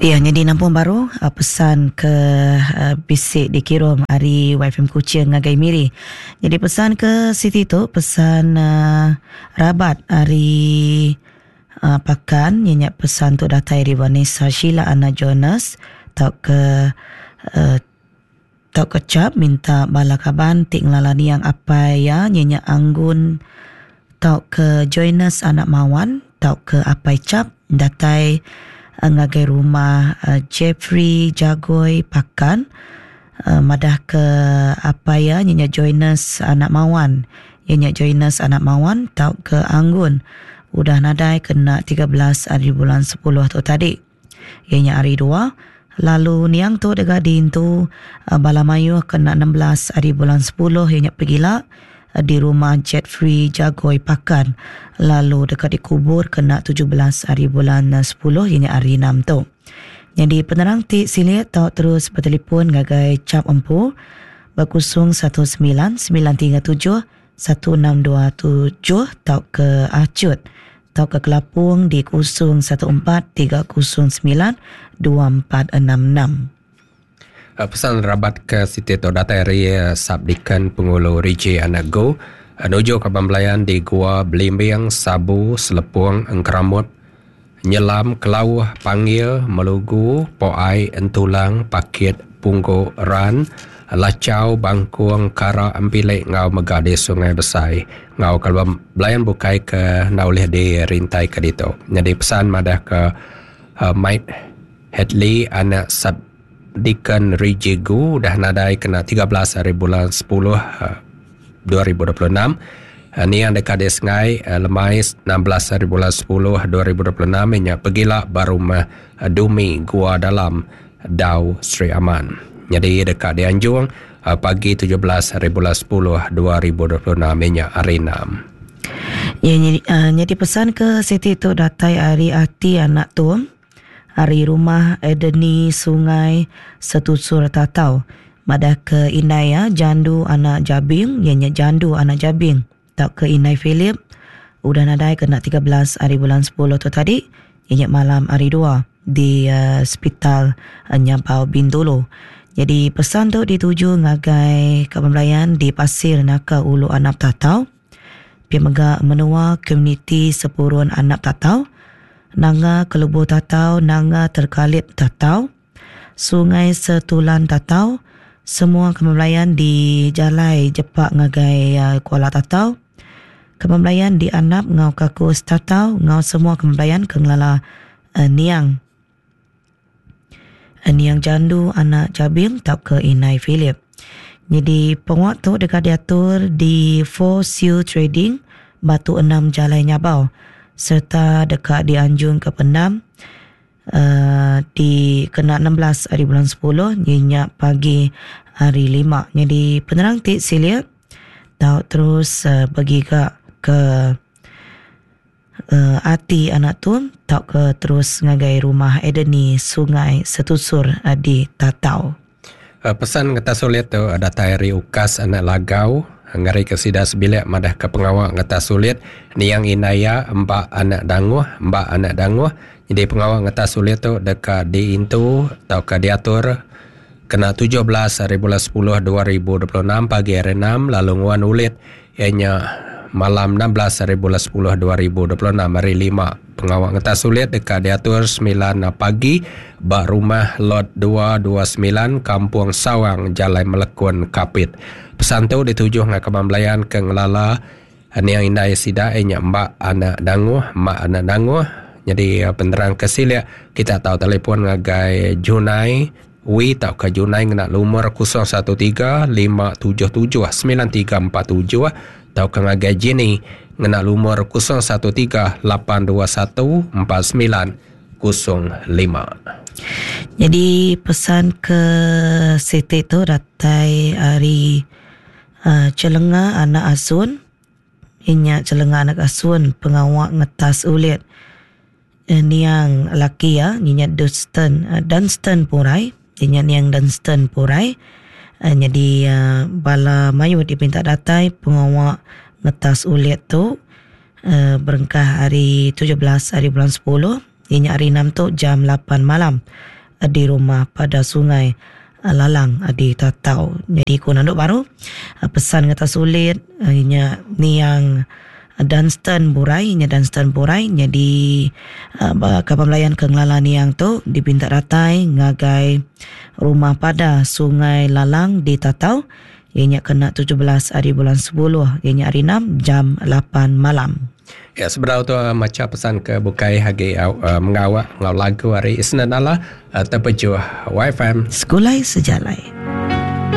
Iya nyadi nampung baru pesan ke bisi dikirum ari YFM Kuching ngagai Miri. Nyadi pesan ke siti tu pesan rabat ari Pakan iya nya pesan tu datai ari Vanessa Sheila Anna Jonas tauka tauka chap minta bala kaban ti ngelala niang apai iya iya nya Anggun tauka Joinus anak Mawan tauka apai chap datai ngagai rumah Jeffrey Jagoi Pakan madahka apai iya iya nya Joinus anak Mawan iya nya Joinus anak Mawan tauka Anggun udah nadai kena 13 ari bulan sepuluh tu tadi iya nya hari dua lalu niang tu deka diintu bala mayuh kena 16 ari bulan sepuluh iya nya pegila di rumah Jeffrey Jagoi Pakan lalu deka dikubur kena 17 ari bulan sepuluh iya nya hari enam tu. Nyadi penerang ti silik tau terus betelefon ngagai chap empu ba 019 937 1627 tauka achut tauka kelapung di 014 309 2466. Pesan rabat ke siti tu datai ari Sub-Deacon Pengulu Rijie Anak Gu nuju kaban belayan di Gua Belimbing, Sabu, Selepong, Engkeramut, Nyelam, Kelauh, Panggil, Melugu, Poai, Entulang, Pakit, Punggu, Ran, Lachau, Bangkung, Kara, Empilik enggau mega di Sungai Besai enggau kaban belayan bukai ke enda ulih dirintaika ditu. Nyadi pesan madahka Mike Hadley anak Sub-Deacon Rijie Gu udah nadai kena 13 hari bulan 10 2026. Niang deka disengai lemai 16 hari bulan 10 2026 inya pegila ba rumah Dumi Gua Dalam Dau Sri Aman. Nyadi deka dianjung pagi 17 hari bulan 10 2026 inya hari enam. Ya, nyadi pesan ke siti tu datai ari ati anak tu ari rumah Edeni Sungai Setusur Tatau madah ke indai iya Jandu anak Jabing iya nya Jandu anak Jabing tauka indai Philip udah nadai kena 13 ari bulan 10 tu tadi iya nya malam hari dua di Sepital Nyabau Bintulu. Nyadi pesan tu dituju ngagai kaban belayan di Pasir Naka Ulu Anap Tatau. Pia mega menua komuniti Sepurun Anap Tatau, Nanga Kelubu Tatau, Nanga Terkalit Tatau, Sungai Setulan Tatau, semua kaban belayan di Jalai Jepak ngagai Kuala Tatau, kaban belayan di Anap enggau Kakus Tatau enggau semua kaban belayan ke ngelala niang. Niang Jandu anak Jabing tauka Inai Philip. Nyadi pengawa tu deka diatur di Four Seal Trading, Batu Enam Jalai Nyabau sereta deka dianjungka pendam uhh di kena 16 ari bulan 10 iya nya pagi hari Lima. Nyadi penerang ti silik tau terus begiga ke Ati anak Tun tauka terus ngagai rumah Edeni Sungai Setusur di Tatau. Pesan ngetas ulit tu datai ari Ukas anak Lagau ngarika sida sebilik madahka pengawa ngetas ulit niang indai iya emba anak Danguh emba anak Danguh nyadi pengawa ngetas ulit tu deka diintu tauka diatur kena 17 hari bulan 10 2026 pagi hari enam lalu nguan ulit iya nya malam 16 hari bulan 10 2026 hari lima. Pengawa ngetas ulit deka diatur 9 pagi ba rumah Lot 229 Kampung Sawang Jalai Melekun Kapit. Pesan tu dituju ngagai kaban belayan ke ngelala niang indai sida iya nya Mbak anak Danguh, Mak anak Danguh. Nyadi penerang ke silik kita tau telefon ngagai Junai Wee tauka Junai ngena lumur 013 577 9347 tauka ngagai Jenny ngena lumur 013 821 4905. Nyadi pesan ke siti tu datai ari Chelenga anak Asun. Inya Chelenga anak Asun pengawa ngetas ulit. Niang laki iya nyinya Dunstan Dunstan Purai inya niang Dunstan Purai nyadi bala mayuh dipinta datai pengawa ngetas ulit tu berengkah ari 17 hari bulan 10 inya hari enam tu jam 8 malam. Di rumah pada Sungai Lalang di Tatau. Nyadi ku nandu baru pesan ngetas ulit nya niang Dunstan Burai nya Dunstan Burai nyadi ba kaban belayan ke ngelala niang tu dipinta datai ngagai rumah pada Sungai Lalang di Tatau iya nya kena 17 hari bulan 10 iya nya hari 6 jam 8 malam. Ya sebedau tu macha pesan ke bukai agi mengawa enggau lagu ari Isnan Ala tepejuh YFM. Segulai Sejalai.